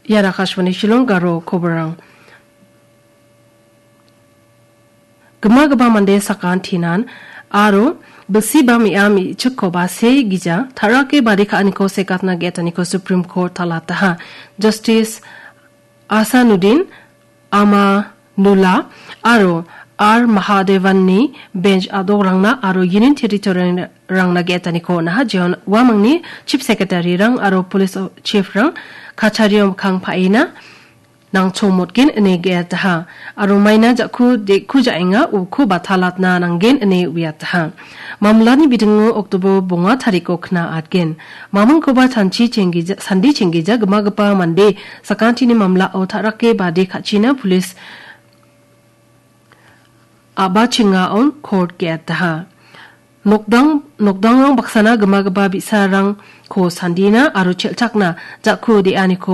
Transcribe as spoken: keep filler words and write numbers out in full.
Ian Akashvani Shillong garo koborang. Gima gipa mande sakantinan aro bilsi ba me·a me·chikkoba se gija tarake bari ka·aniko sekatna ge·ataniko Supreme Court talataha. Justice Asanuddin Amanullah aro R Mahadevanni bench adokrangna aro Union Territory-rangna ge·ataniko naha jeon uamangni Chief Secretary-rang aro Police Chief-rang kachario mikkang pa·ina nangchongmotgen ine ge·ataha. Aro maina ja·ku de·ku ja·enga uko batalatna nanggen ine uiataha. Mamlani bidingo Oktober bonga tariko kna atgen. Mamingkoba chanchi chenggija-, sandi chenggija gimagipa mande sakantini mamlao ta·rake bade ka·china pulis a·bachengaon court ge·ataha. Nokdang-, nokdangrang baksana gimagipa bi·sarangko sandina aro chelchakna ja·ku de·aniko